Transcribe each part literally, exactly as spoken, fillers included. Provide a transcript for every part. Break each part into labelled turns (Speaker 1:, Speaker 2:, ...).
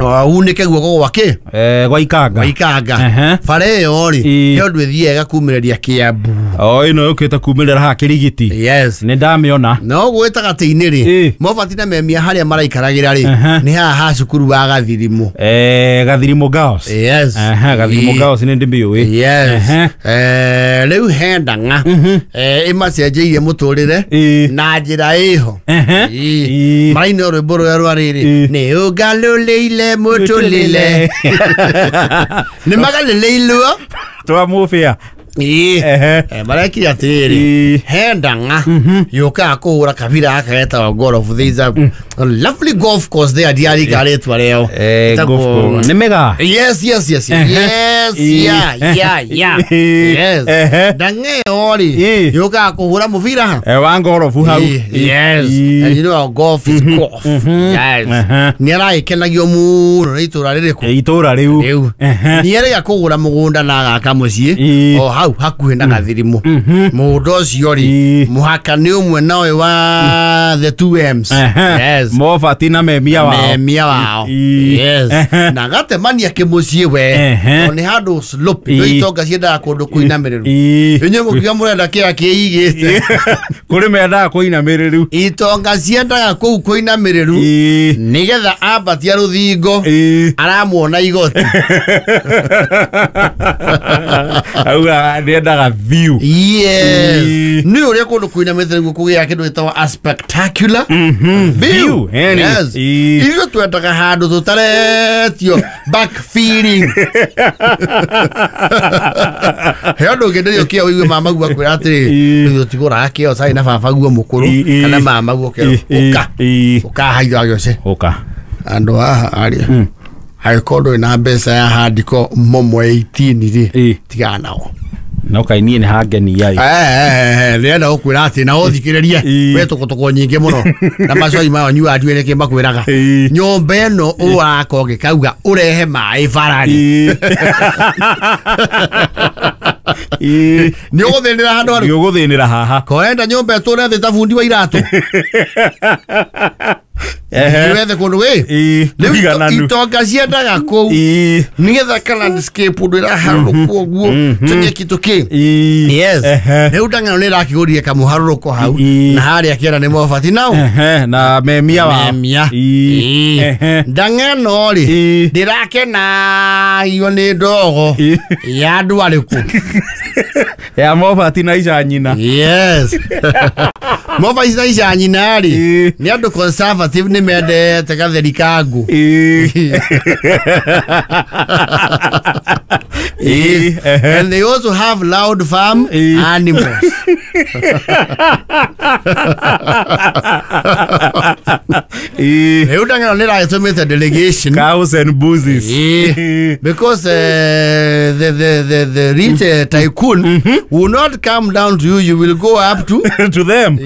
Speaker 1: Unike guoko gwake
Speaker 2: eh gwa ikanga
Speaker 1: gwa ikanga bara ĩyo rĩ he ũndũ ĩthiaga ĩgakumĩrĩria Kiambu.
Speaker 2: O ĩno yũkĩte kumĩrĩra haha Kĩrigiti.
Speaker 1: Yes,
Speaker 2: nĩ ndamĩona.
Speaker 1: No gũgĩtagatĩ-inĩ rĩ, Mobati na Memia harĩa maraikaragĩra rĩ nĩ haha ha cukuru wa Gathirimu.
Speaker 2: Eh Gathirimu Girls.
Speaker 1: Yes.
Speaker 2: Aha, Gathirimu Girls nĩ ndĩmĩũĩ.
Speaker 1: Yes. Eh rĩu he ndang'a eh ĩmacenjeirie mũtũrĩre na njĩra ĩho. Maraina rwĩmbo rũrĩa rwa rĩrĩ nĩ ũngalũlĩile mutulile ni magalĩleilwo
Speaker 2: twa mubia.
Speaker 1: Ĩĩ marekire atĩrĩrĩ, he ndang'a yũkaga kũhũra kabira gaka getagwo golf. There is a lovely golf course there, ndiarika rĩtwa rĩao.
Speaker 2: Nĩ mega.
Speaker 1: Yes, yes, yes, yes, yeah, yeah, yeah. Yes. Ndang'a ĩyo rĩ yũkaga kũhũra mũbira ha
Speaker 2: wa ngorobu hau.
Speaker 1: Yes. And you know golf is golf. Yes. Nĩ aragĩkenagio mũno nĩ itũra rĩrĩkũ?
Speaker 2: Itũra rĩu.
Speaker 1: Nĩ erĩga kũgũra mũgũnda na agaka mũciĩ o hau hakuhĩ na Gathirimu. Mũgũnda ũcio rĩ mũhaka nĩ ũmwe na ũyũ wa the two M's. Yes.
Speaker 2: Mobati na Memia wao.
Speaker 1: Memia wao. Yes. Na gatemania kĩmũciĩ we o nĩ handũ slope. No itonga ciendaga kũndũ kũinamĩrĩru. Inyuĩ mũkiuga mũrenda kĩrĩa kĩigĩte.
Speaker 2: Kũrĩ mendaga kũinamĩrĩru.
Speaker 1: Itonga ciendaga kũu kũinamĩrĩru nĩgetha ambatia rũthingo aramuona igoti.
Speaker 2: Auga nĩendaga view.
Speaker 1: Yes. Nĩ ũrĩa kũndũ kũinamĩte nĩguo kũgĩa kĩndũ gĩtagwo a spectacular view. Yes. Ithuĩ twendaga handũ tũtaretio back feeling. He ũndũ ũngĩenderio kĩo ũigue mama guo akwĩra atĩrĩrĩ, ithuĩ tũtigũraga kĩo cai na baba guo mũkũrũ kana mama guo kĩo ũka ũka haitho gĩoce
Speaker 2: ũka
Speaker 1: andũ haha arĩa angĩkorwo ndũrĩ na mbeca ya handiko momo eighteen rĩ tigana nao.
Speaker 2: No kai niĩ nĩ hangenia ĩ.
Speaker 1: Eh ndĩrenda gũkwĩra atĩ na ũthikĩrĩrie we tũkũtũkwo nyingĩ mũno na macoi mayo nyuaga ndiũĩ nĩkĩ makwĩraga. Nyũmba ĩno ũraka ũgĩkauga ũrehe maĩ bara-rĩ nĩ ũgũthĩnĩra handũ harĩ?
Speaker 2: Nĩ ũgũthĩnĩra haha.
Speaker 1: Koenda nyũmba ĩtũre thĩ ta bundi wa iratũ. Wethe kũndũ ĩ rĩu itonga ciendaga kũu nĩgetha ka landscape ũndũ ĩraharũrũkwo ũguo tũnyeki tũkĩ. Yes. Rĩu ndang'ano nĩ ĩrakĩgũrire kamũharũrũko hau na harĩa kĩara nĩ Mobati nao
Speaker 2: na Memia wao.
Speaker 1: Memia. Ndang'ano rĩ ndĩrakenagio nĩ ndogo ya andũ arĩkũ?
Speaker 2: Ya Mobati na ica nyina.
Speaker 1: Yes. Mobati na ica nyina rĩ nĩ andũ conservative nĩ mendete gatheri ka ngũ. And they also have loud farm animals. Rĩu ndang'ano nĩ ĩragĩtũmĩte delegation.
Speaker 2: Cows and buses.
Speaker 1: Because uh, the, the, the, the rich uh, tycoon mm-hmm. will not come down to you, you will go up to
Speaker 2: to them.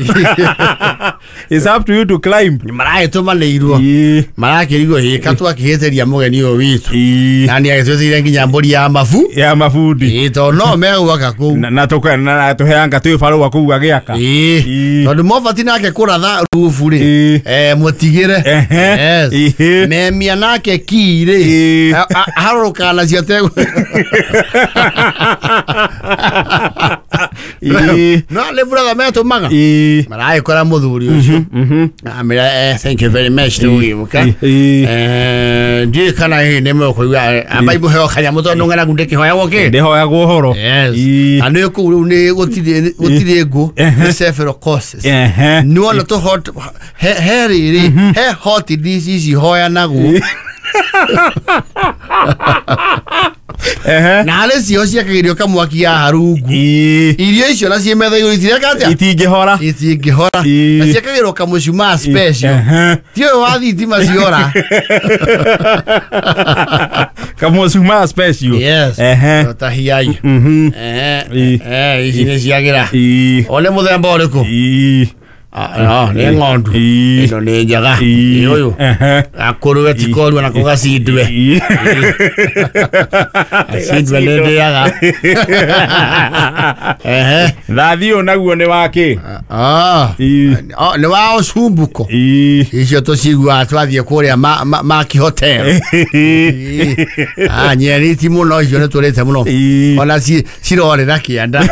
Speaker 2: It's up to you to climb.
Speaker 1: Maragĩtũmanĩirwo marakĩrigwo hĩka twakĩhĩtĩria mũgeni ũyũ witũ na nĩ agĩtwĩtĩire nginya mbũri ya mabu
Speaker 2: ya mabundi
Speaker 1: ĩ tondũ no megwaka kũu
Speaker 2: na na tũheanga twĩ barũa kũu agĩaka
Speaker 1: ĩ tondũ Mobati nake kũratha rubu rĩ eh mũtigĩre. Yes. Memia nake ki rĩ harũrũkaga nacio ategũ no nĩ brother metũmaga maragĩkora mũthuri ũcio amĩra eh thank you very much tũgĩũka eh ndiũĩ kana hihi nĩ mũkũigua amba imũheo kanyamũ tondũ ng'aragu ndĩkĩhoyagwo kĩ
Speaker 2: ndĩhoyagwo ũhoro.
Speaker 1: Yes. Na nĩ kũu rĩu nĩ gũtirĩ gũtirĩ ngũ nĩ several courses nĩ wona tũ hot he he rĩrĩ he hot dish ici hoyanagwo na harĩ cio ciakagĩrio kamwaki ya harungu irio icio na ciĩ metha igũrũ itireka atĩa
Speaker 2: itingĩhora
Speaker 1: itingĩhora na ciakagĩrwo kamũcumaa special ti ũyũ wa thitima ciora
Speaker 2: kamũcumaa special.
Speaker 1: Yes. Ta hiai eh ici nĩ ciagĩra one mũthemba ũrĩkũ? Ah, nĩ ng'ondu ĩno nĩ njega ũyũ akũrũwe ti korua na kũgacindwe acindwe nĩ ndĩaga ehe
Speaker 2: thathiũ naguo nĩ wakĩ
Speaker 1: ah nĩ wa ũcumbuko icio tũciguaga twathiĩ kũrĩa Maki Hotel ah nyeni ti mũno icio nĩ tũrĩte mũno ona cirorĩra kĩanda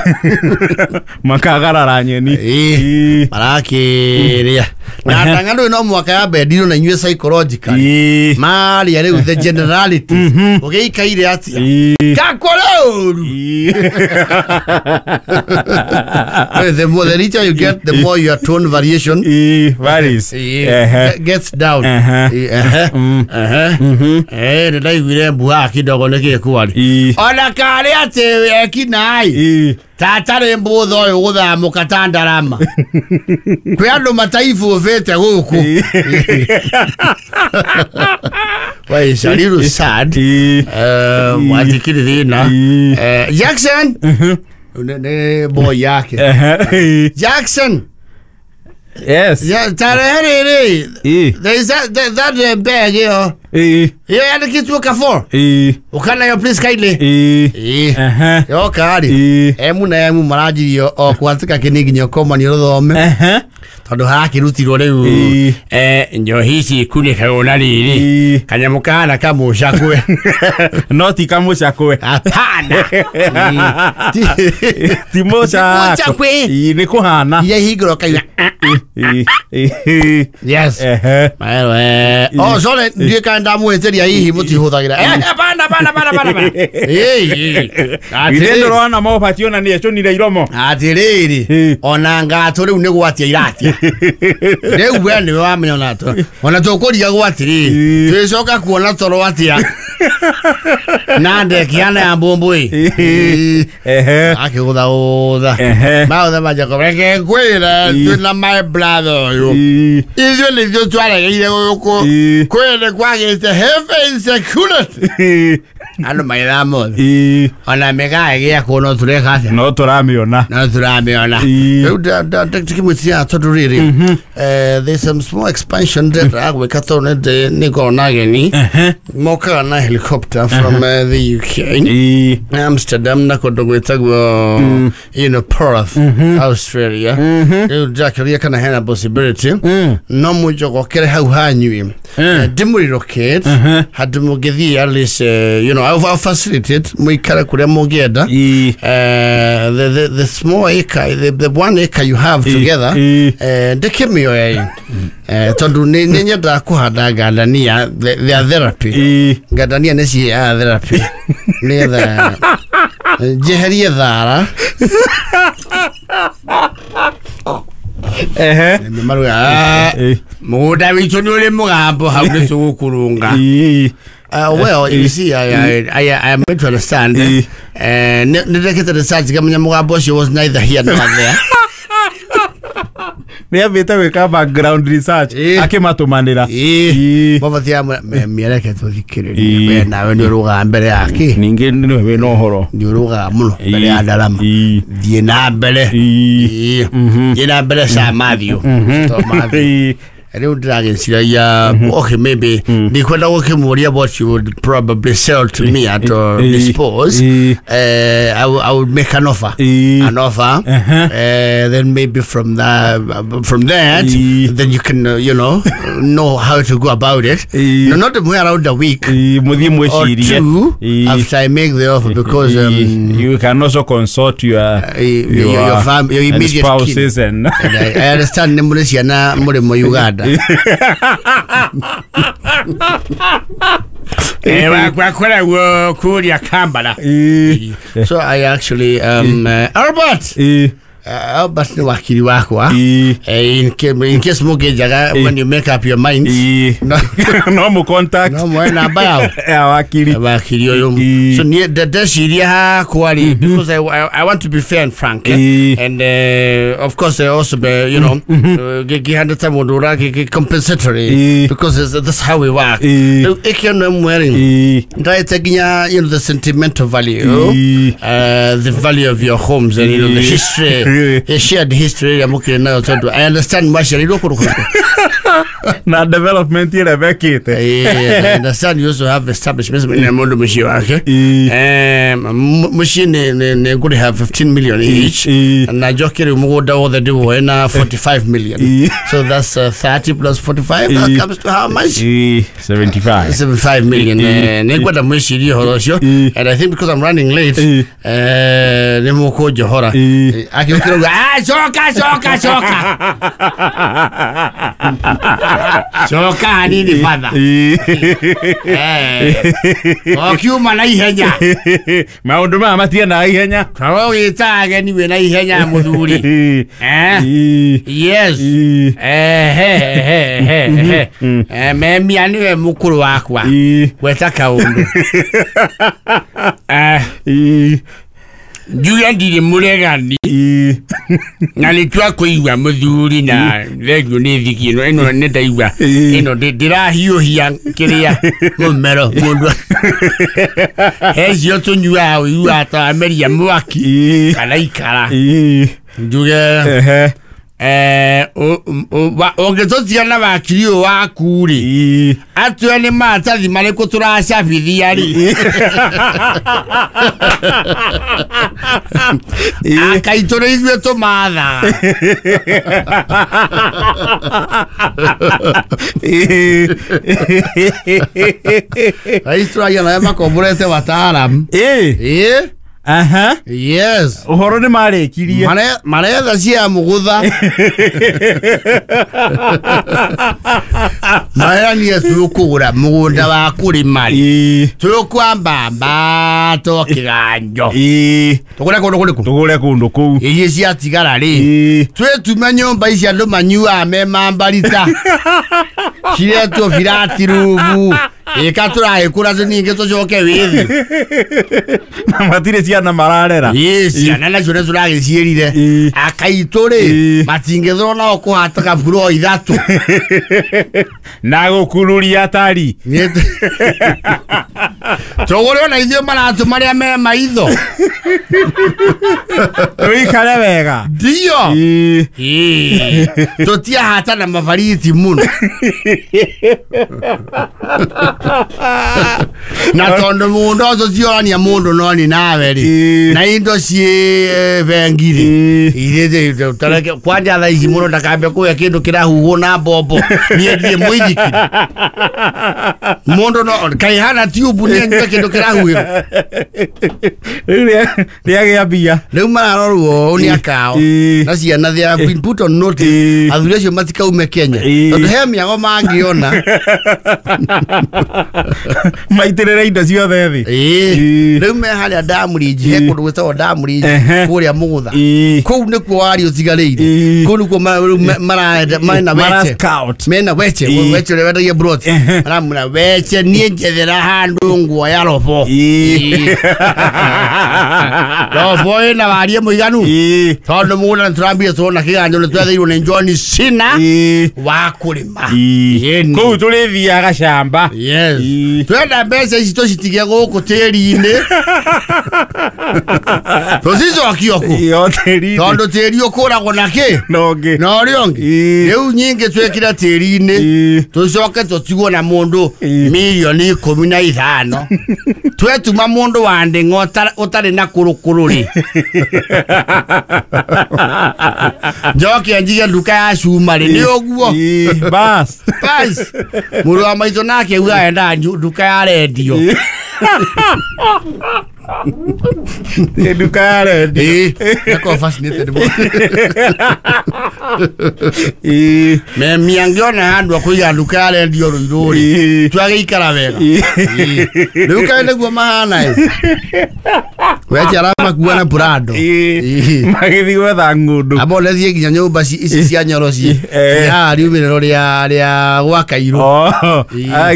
Speaker 2: makagarara nyeni
Speaker 1: marakĩrĩa na ndang'ano no mwaka ya bendirwo na inyuĩ psychologically maria rĩu the generalities ũgĩikaire atĩa gakũrĩ ũru the more the richer you get the more your tone variation
Speaker 2: varies
Speaker 1: gets down eh nĩ ndaiguire mbuha kidogo nĩ kĩkwari ona karĩ atĩ ekinai tatarĩ mbũtha ũyũ gũthamũka ta ndarama kwĩ andũ mataibũbĩte gũkũ Well, it's a little sad. Watikiri thĩna Jackson nĩ boy yake Jackson
Speaker 2: Yes.
Speaker 1: Yeah, tarehe rĩrĩ there is that that, that bag ĩyo ĩyo yandĩkĩtwo Carrefour ũkana yo please kindly ĩĩ yoka rĩ emu na emu maranjirio o kwatĩka kĩni nginya ũkomanio rũthome tondũ harakĩrutirwo rĩu eh njohi ici ikunĩkagwo na rĩrĩ kanyamũ kahana kamũcakwe
Speaker 2: no ti kamũcakwe
Speaker 1: hapana
Speaker 2: ti mũcakwe nĩ kũhana
Speaker 1: iria ihingũrwo kaigua yes maero eh oh sorry ndiĩ kana ndamũhĩtĩria hihi mũtihũthagĩra eh hapana hapana hapana hapana ĩĩ
Speaker 2: ithe ndũrona mobati ona nĩ ecũnire iromo
Speaker 1: atĩrĩrĩ ona ngatũ rĩu nĩ gwatia iratia rĩu we nĩwe wamenya ona ona tũkũrigagwo atĩrĩrĩ twĩcoka kuona toro atĩa na ndekiana ya mbũmbũĩ akĩgũthagũtha maũtha manjako reke ngwĩre twĩna my brother ũyũ ithuĩ nĩithuĩ twaregeire gũkũ kwĩ nĩ kwagĩte heavy insecurity andũ maithaa mothe ona mĩgaa ĩgĩakwo no tũreka atĩa
Speaker 2: no tũramĩona
Speaker 1: no tũramĩona rĩu ndĩkĩmwĩtia tondũ rĩrĩ there's some small expansion ndĩragwĩka tondũ nĩngorwo na ageni mokaga na helicopter from uh, the U K Amsterdam na kũndũ gwĩtagwo you know Perth Australia rĩu ndĩrakĩũria kana hena possibility no mũnjogokere hau hanyui ndĩmũrelocate handũ mũngĩthiĩ at least uh, you know I'll, I'll facilitate mũikare kũrĩa mũngĩenda uh, the, the, the small acre the, the one acre you have together ndĩkĩmĩoe tondũ nĩ nyendaga kũhanda ngandania their therapy ngandania nĩ ciheaga therapy nĩgetha njeherie thara
Speaker 2: ehe
Speaker 1: maruga mũgũnda witũ nĩ ũrĩ mũgambo hau nĩ tũgũkũrũnga Uh, well, you see, I, I, I, I am made to understand. Uh, nĩndekĩte research ngamenya mũgambo ũcio was neither here nor there.
Speaker 2: Nĩ ambĩte gwĩka background research akĩmatũmanĩra
Speaker 1: mabatia mĩereke tũthikĩrĩrie we nawe nĩ ũrũgaga mbere yake
Speaker 2: ningĩ nĩwe wĩna ũhoro
Speaker 1: nĩ ũrũgaga mũno mbere ya ndarama thiĩ na mbere thiĩ na mbere Sir Matthew Matthew rĩu ndĩragĩciragia okay maybe ndikwenda gũkĩmũria what you would probably sell to me at or dispose uh, I, I would make an offer an offer uh, then maybe from that from that then you can uh, you know know how to go about it no not around a week or two after I make the offer because um,
Speaker 2: you can also consult your
Speaker 1: uh, your, your, your, fam your immediate
Speaker 2: spouses and,
Speaker 1: and I, I understand nĩ mũrĩ ciana mũrĩmo Uganda So I actually um uh, Albert uh, Albert nĩ wakiri wakwa in case in case mũngĩnjaga when you make up your minds
Speaker 2: no no mu contact
Speaker 1: no mwe namba yao
Speaker 2: ya wakiri
Speaker 1: wakiri ũyũ so niĩ ndeciria hakwa rĩ because I, I, I want to be fair and frank eh? and uh, of course I also be you know ngĩhandĩte mũndũ ũra compensatory because that's how we work rĩu ĩkĩono ĩmwe rĩ ndaĩte nginya you know the sentimental value uh, the value of your homes and you know the history A shared history ya mukire nayo tondu I understand mwaciarirwo kũndũ
Speaker 2: na development ĩrĩa mekĩte.
Speaker 1: I understand you also have establishments in mundu muciĩ wake. Um muciĩ nĩ nĩ ngũrĩha fifteen million each na njoke rĩu mũgũnda wothe ndĩwoe na forty-five million. So that's uh, thirty plus forty-five, that comes to how much?
Speaker 2: seventy-five.
Speaker 1: seventy-five million. Nĩ ngwenda mwĩcirie ũhoro ũcio, and I think because I'm running late, eh nĩ mũkũnjohora. Akĩũkĩra uga, ah coka coka coka. Coka hanini father. Eh. Okiuma na ihenya.
Speaker 2: Maũndũ maya matiendaga ihenya.
Speaker 1: Korwo wĩta ageni wĩna ihenya mũthuri. Eh. Yes. Eh he he he he. Eh memia niwe mũkũrũ wakwa. Gweta kaũndũ. Eh. Njuge ndirĩ mũregani na nĩ twakũigua mũthuri na thengio nĩ thiki ĩno ĩno nĩ ndaigua ĩno ndĩrahiũhia kĩrĩa mũmero mũndũ hecio tũnyuaga ũiguaga ta wameria mwaki kana ikara njuge eh ũngĩtũtiga na wakiri ũyũ waku rĩ atue nĩ maratathi marĩkũ tũracabithia rĩ akaitũ nĩ ithuĩ tũmathaga. Rais tũragia nawe makomborete wataalamu. Ĩĩ.
Speaker 2: Aha.
Speaker 1: Yes.
Speaker 2: Ũhoro nĩ marĩkirie.
Speaker 1: Maretha cia mũgũtha. Marerania tũkũgũra mũgũnda wa kũrĩma rĩ. Tũkwamba mbato kĩganjo. Tũgũre kũndũ kũrĩkũ?
Speaker 2: Tũgũre kũndũ kũu.
Speaker 1: Iria ciatigara rĩ. Twĩtume nyũmba ici andũ manyuaga me mambarita. Ciretwo birati rumu. Ĩka tũragĩkũra tũningĩ tũcoke wĩthĩ.
Speaker 2: Na matirĩ ciana mararera.
Speaker 1: Ĩĩ ciana nacio nĩ tũragĩciĩrire. Akaitũ rĩ matingĩthwo nao kũhata kaburo ithatũ.
Speaker 2: Na gũkururia atari.
Speaker 1: Tũgũre ona ithuĩ maratũ marĩa me maitho.
Speaker 2: Tũikare wega.
Speaker 1: Ndio. Ĩĩ. Tũtiahata na mabariti mũno. Na tondũ mũndũ ũcio ciorania mũndũ no ni nawe rĩ na indo ciĩ bengi rĩ irĩ kwanja thaa ici mũndũ ndakambe kũhe kĩndũ kĩrahuhwo na mbombo niĩ ndiĩ mũithikiri mũndũ no kaĩ hana tube nĩ anyue kĩndũ kĩrahuhĩrwo
Speaker 2: rĩu rĩagĩa mbia
Speaker 1: rĩu mararorwo ũũ nĩ akao na ciana they have been put on notice athuri acio matikaume Kenya tondũ he mĩago mangĩona
Speaker 2: maitĩrĩre indo ciothe thĩ.
Speaker 1: Ĩĩ rĩu me harĩa Ndamũrinji he kũndũ gwĩtagwo Ndamũrinji kũrĩa Mũgũtha kũu nĩkuo waria ũtigarĩire kũu nĩkuo marenda mena weche mena weche weche ũrĩa wendagia broti maramwĩra weche niĩ njethera handũ nguoya robo robo ĩna warie mũiganu tondũ mũgũnda nĩtũrambire tuona kĩganjo nĩtwetheirwo nĩ John Cena wa kũrĩma
Speaker 2: kũu tũrĩthiaga camba.
Speaker 1: Yes. Twenda mbeca ici tũcitige gũkũ tĩri-inĩ tũcicokie kũ tondũ tĩri ũkũragwo na kĩ
Speaker 2: na ũngĩ
Speaker 1: na ũrĩa ũngĩ rĩu nyingĩ twĩkĩre tĩri-inĩ tũcoke tũtigwo na mũndũ mirioni ikũmi na ithano twetuma mũndũ wa ndĩng'a ũtarĩ na kũrũkũrũ rĩ njoke njige nduka ya cuma rĩ nĩ ũguo
Speaker 2: bas
Speaker 1: bas mũrũ wa maitũ nake uga endaga nduka ya rendio
Speaker 2: nduka ya rendio
Speaker 1: ĩĩ fascinated ĩĩ memi angĩona handũ akũiga nduka ya rendio Rũirũ rĩ twagĩikara wega rĩu kaĩ nĩguo mahana ĩ weche aramakua na Prado
Speaker 2: magĩthiĩ gwetha ng'ũndũ
Speaker 1: abo nethiĩ nginya nyũmba ici cia nyoro ci haha riumĩrĩro rĩa rĩa gwa Kairũ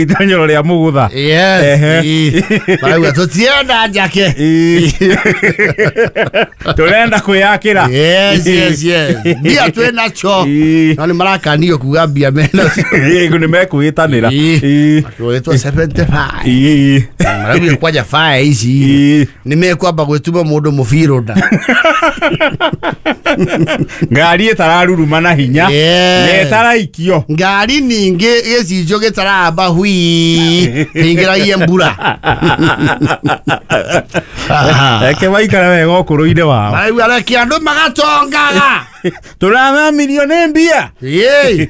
Speaker 2: itonyero rĩa Mũgũtha
Speaker 1: yes marauga tũtienda njake
Speaker 2: tũrenda kwĩyakĩra
Speaker 1: yes yes yes mbia twĩ nacio no nĩ marakanio kuga mbia menacio
Speaker 2: nĩ mekwĩtanĩra
Speaker 1: twĩtwo seventy-five marauga kwanja fire ici nĩ mekwamba gwĩtuma mũndũ mũbirũ nda.
Speaker 2: Ngari ĩtararuruma na hinya.
Speaker 1: Yeah.
Speaker 2: Na ĩtaraikio.
Speaker 1: Ngari ningĩ gĩcicio gĩtaramba hui hingĩragie mbura.
Speaker 2: Reke maikare wega ũkũrũ-inĩ wao.
Speaker 1: Maraigua reke andũ magatongaga.
Speaker 2: Tũrathamirio nĩ mbia.
Speaker 1: Ĩĩ.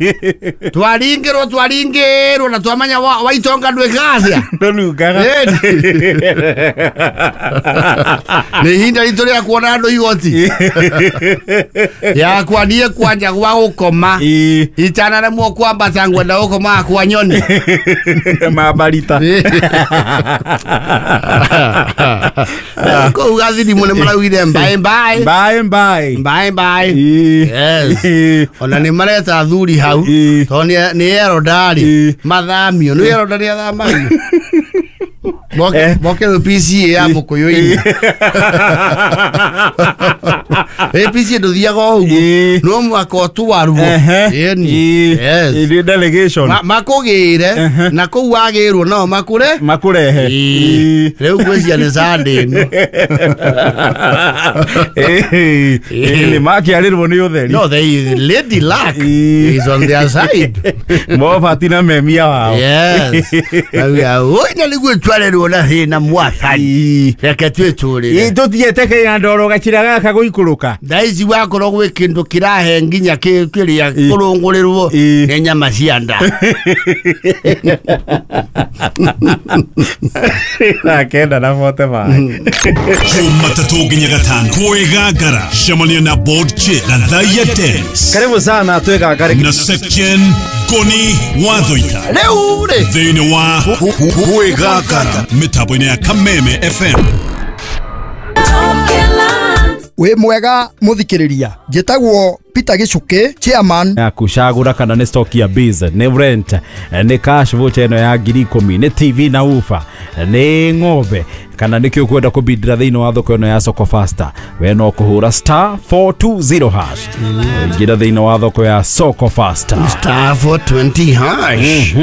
Speaker 1: Twaringĩrwo twaringĩrwo na twamenya waitonga ndwĩkaga.
Speaker 2: Ndũnungaga.
Speaker 1: Nĩ ihinda ritũ rĩa kuona andũ igoti. Yakwa niĩ kwanja gwa gũkoma. Itanaremwo kwambata ngwenda gũkoma kwa nyoni.
Speaker 2: Mabarita.
Speaker 1: Kũu gathirimu nĩ maraugire mbaĩ mbaĩ.
Speaker 2: Mbaĩ mbaĩ.
Speaker 1: Mbaĩ mbaĩ. Yes. Ona nĩ mareta athuri hau tondũ nĩ erodari mathamio nĩ erodari athamagio. Moke moke P C A ya mũkũyũ-inĩ. Eh P C A ndũthiaga o ũguo no mũhaka ũtwarwo. Ĩni. Yes.
Speaker 2: Ĩ delegation.
Speaker 1: Makũgĩre na kũu wagĩrwo nao makũre
Speaker 2: makũrehe.
Speaker 1: Rĩu ngwĩciria nĩ Sunday ĩno.
Speaker 2: Eh nĩ makĩarĩrwo nĩ ũtheri.
Speaker 1: No, they lady luck is on their side.
Speaker 2: Mobati na memia wao.
Speaker 1: Yes. Oi na nĩguo twarerwo na thĩna mwathani. Reke twĩtũrĩre.
Speaker 2: Tũthiĩte kĩnya ndoro gacira gaka gũikũrũka.
Speaker 1: Thaa ici wakorwo gwĩ kĩndũ kĩrahe nginya kĩrĩa kũrũngũrĩrwo nĩ nyama cia nda.
Speaker 2: Na kenda na bote maĩ.
Speaker 3: Jumatatu nginya gatano kwĩgangara cemania na board chair na Thaiya Dennis.
Speaker 2: Karibu sana twĩgangare
Speaker 3: na Section Koni Wathoita.
Speaker 1: Rĩu rĩ
Speaker 3: thĩinĩ wa kwĩgangara mĩtambo-inĩ ya Kameme F M.
Speaker 4: Wĩ mwega mũthikĩrĩria, njĩtagwo Peter Gichuki, chairman
Speaker 2: ya kucagũra kana nĩ stock ya biz, nĩ rent, nĩ cash voucher ĩno ya ngiri ikũmi, nĩ T V na ufa, nĩ ng'ombe kana nĩkĩ ũkwenda kũbindĩra thĩinĩ wa thoko ĩno ya Soko Faster. We no kũhũra star four two zero hash ingĩra thĩinĩ wa thoko ya Soko Faster
Speaker 1: star four twenty hash.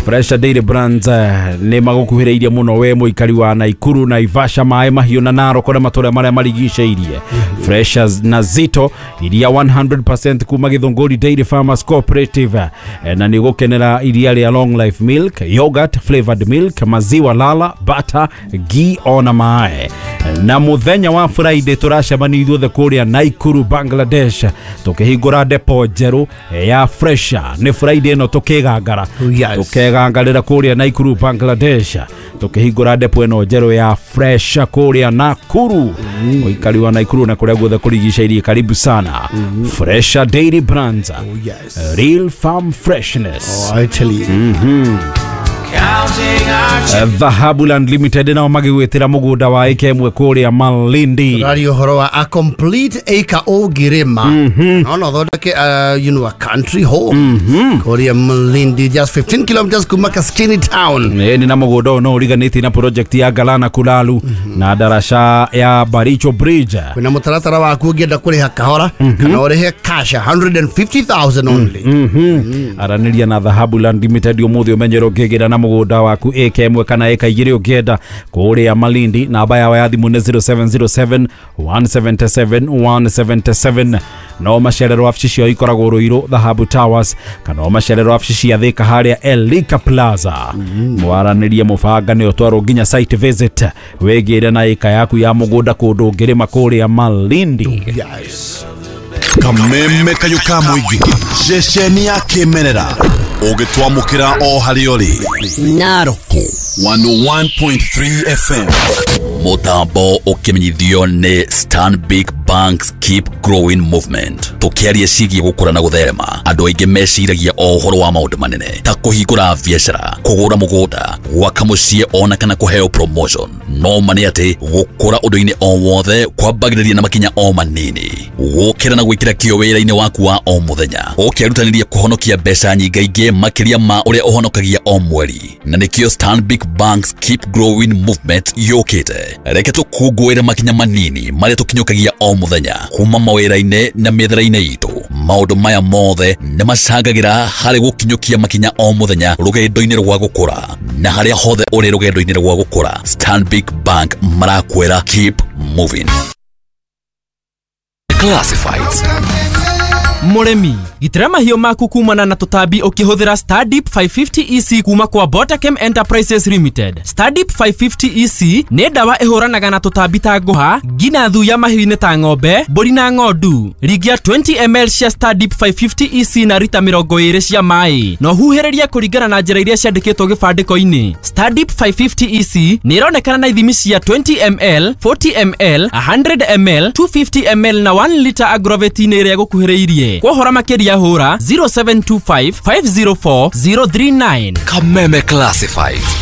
Speaker 2: Fresh Dairy Brands nĩ magũkuhĩrĩirie mũno we mũikari wa Naikuru, Naivasha, Maĩ Mahiũ na Narok na matũra marĩa marigicĩirie. Fresh na Zito iria one hundred percent kuma Githunguri Dairy Farmers Cooperative, na nĩ gũkenera iria rĩa long life milk, yogurt, flavored milk, maziwa lala, butter, ghee ona mae. Na muthenya wa Friday turacemania ithuothe kũrĩa Naikuru Bangladesh tukĩhingũra depo njerũ ya Fresha. Nĩ Friday ĩno tukĩgangara tukegangarĩra kũrĩa Naikuru Bangladesh tukĩhingũra depo ĩno njerũ ya Fresha kũrĩa Nakuru. Mũikari wa Naikuru na kũrĩa guothe kũrigicĩirie, karibu sana. Fresha Dairy Brands.
Speaker 1: Oh, yes.
Speaker 2: Real farm freshness.
Speaker 1: Oh, I tell you.
Speaker 2: Mm-hmm. Dhahabu Land Limited nao magĩgwĩtĩra mũgũnda wa ĩka ĩmwe kũrĩa Malindi.
Speaker 1: Tũraria ũhoro wa a complete acre ũngĩrĩma no no thondeke you know a country home kũrĩa Malindi, just fifteen kilometers kuma Kaskini town.
Speaker 2: Ĩni na mũgũnda ũyũ no ũriganĩtie na project ya Galana Kulalu na daraca ya Baricho Bridge.
Speaker 1: Kwĩna mũtaratara waku ũngĩenda kũrĩha kahora kana ũrĩhe cash one hundred fifty thousand only.
Speaker 2: Aranĩria na Dhahabu Land Limited ũmũthĩ ũmenyere ũngĩgĩra na mũgũnda waku ĩka ĩmwe kana ĩka igĩrĩ ũngĩenda kũrĩa Malindi. Namba yao ya thimũ nĩ zero seven zero seven one seven seven one seven seven. No macerero wabici ciao ikoragwo Ruiru Dhahabu Towers kana macerero wabici cia Thika harĩa Elika Plaza. Mwaranĩrie mũbanga nĩ ũtwarwo nginya site visit wĩgĩre na ĩka yaku ya mũgũnda kũndũ ũngĩrĩma kũrĩa Malindi.
Speaker 1: Yes.
Speaker 3: Kameme kayũ ka mũingĩ ceceni ya kĩmerera ũgĩtwamũkĩra o harĩa ũrĩ
Speaker 4: Narok
Speaker 3: one oh one point three F M.
Speaker 5: Mũtambo ũkĩmenyithio nĩ Stanbic Bank's Keep Growing Movement. Tũkĩaria ciĩgiĩ gũkũra na gũtherema, andũ aingĩ meciragia o ũhoro wa maũndũ manene ta kũhingũra biacara, kũgũra mũgũnda, gwaka mũciĩ ona kana kũheo promotion. No ma nĩ atĩ gũkũra ũndũ-inĩ o wothe kwambagĩrĩria na makinya o manini. Gũkĩra na gwĩkĩra kĩyo wĩra-inĩ waku wa o mũthenya, ũkĩrutanĩria kũhonokia mbeca nyingaingĩ makĩria ma ũrĩa ũhonokagia o mweri. Na nĩkĩo Stanbic Bank's Keep Growing Movement yũkĩte. Reke tũkũngũĩre makinya manini marĩa tũkinyũkagia o mũthenya kuma mawĩra-inĩ na mĩethere-inĩ itũ. Maũndũ maya mothe nĩ macangagĩra harĩ gũkinyũkia makinya o mũthenya rũgendo-inĩ rwa gũkũra. Na harĩa hothe ũrĩ rũgendo-inĩ rwa gũkũra, Stanbic Bank marakwĩra keep moving. Classifieds.
Speaker 6: Mũrĩmi, gitĩra mahiũ maku kumana na tũtambi ũkĩhũthĩra Stardip five fifty E C kuma kwa Botachem Enterprises Limited. Stardip five fifty E C nĩ ndawa ĩhũranaga na tũtambi ta ngũha, nginya thuya mahiũ-inĩ ta ng'ombe, mbũri na ng'ondu. Ringia twenty milliliters cia Stardip five fifty E C na rita mĩrongo ĩrĩ cia maĩ. Na ũhuhĩrĩrie kũringana na njĩra iria ciandĩkĩtwo gĩbandĩko-inĩ. Stardip five fifty E C nĩ ĩronekana na ithimi cia twenty milliliters, forty milliliters, a hundred milliliters, two fifty milliliters na one liter agroveti-inĩ ĩrĩa ĩgũkuhĩrĩirie. Kwa makĩria hũra zero seven two five, five zero four, zero three nine.
Speaker 5: Kameme Classifieds.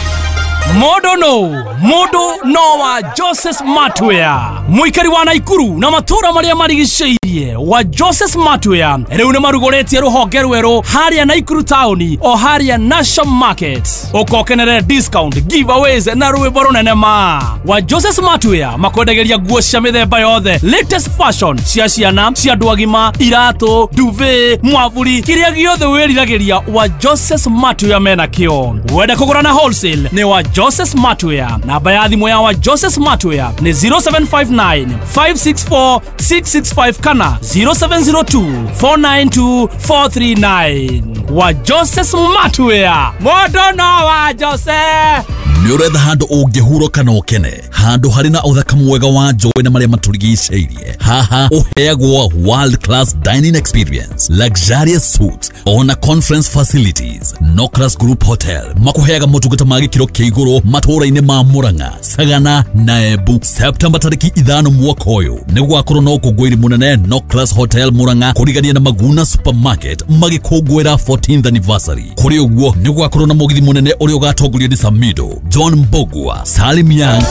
Speaker 7: Mũndũ no, mũndũ no wa Joseph Smartwear. Mũikari wa Naikuru na matũũra marĩa marigicĩirie wa Joseph Smartwear rĩu nĩ marugũrĩtie rũhonge rwerũ harĩa Naikuru taũni o harĩa National Market. Ũkokenere discount, giveaways na rwĩmbo rũnene ma. Wa Joseph Smartwear makwendagĩria nguo cia mĩthemba yothe, latest fashion cia ciana, cia andũ agima, iratũ, duvet, mwavuri, kĩrĩa gĩothe wĩriragĩria wa Joseph Smartwear mena kĩo. Wenda kũgũra na wholesale nĩ wa Joseph Smartwear. Namba ya thimũ ya wa Joseph Smartwear nĩ zero seven five nine, five six four, six six five kana zero seven zero two, four nine two, four three nine. Wa Joseph Smartwear. Mũndũ no wa Joseph.
Speaker 5: Nĩ ũretha handũ ũngĩhurũka na ũkene, handũ harĩ na ũthaka mwega wa njũĩ na marĩa matũrigicĩirie. Haha ũheagwo world class dining experience, luxurious suites ona conference facilities. Nocras Group Hotel makũheaga motungata ma gĩkĩro kĩa igũrũ matũũra-inĩ ma Murang'a, Sagana na Embu. Septemba tarĩki ithano mwaka ũyũ nĩ gũgakorwo na ũkũngũĩri mũnene Nocras Hotel Murang'a kũrigania na Maguna Supermarket magĩkũngũĩra fourteenth anniversary. Kũrĩ ũguo nĩ gũgakorwo na mũgithi mũnene ũrĩa ũgatongorio nĩ Samido, John Mbogua, Salim Young,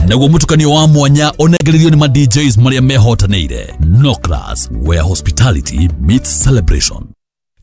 Speaker 5: naguo mũtukanio wa mwanya ũnengererio nĩ ma D Js marĩa mehotanĩire. Nocras, where hospitality meets celebration.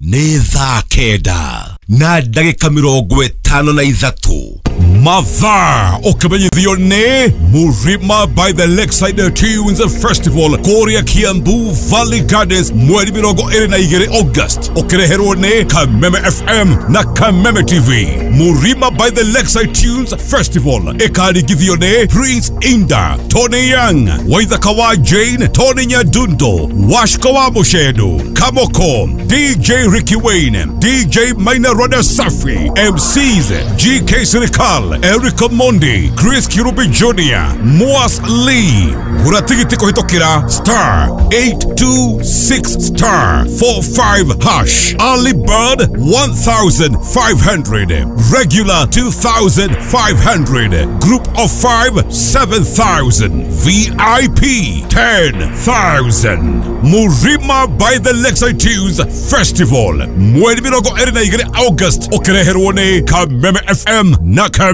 Speaker 3: Nĩ thaa kenda na ndagĩka mĩrongo ĩtano na ithatũ. Mathaa ũkĩmenyithio nĩ Murima by the Lakeside Tunes Festival kũrĩa Kiambu Valley Gardens mweri mĩrongo ĩrĩ na igĩrĩ August, ũkĩreherwo nĩ Kameme F M na Kameme T V. Murima by the Lakeside Tunes Festival ĩkaringithio nĩ Prince Inda, Tony Young, Waithaka wa Jane, Tony Nyadundo, Washko wa Mushedo, Kamoko, D J Ricky Wayne, D J Maina Roda Safi, M Cs G K Sirikal, Eric Mondi, Chris Kirubi Junior, Moas Lee. Gura tigiti kũhĩtũkĩra star eight two six star four five hash. Early bird one thousand five hundred, regular two thousand five hundred, group of five seven thousand, V I P ten thousand. Murima by the Lakeside Tunes Festival mweri mĩrongo ĩrĩ na igĩrĩ August, ũkĩreherwo nĩ Kameme F M na Kameme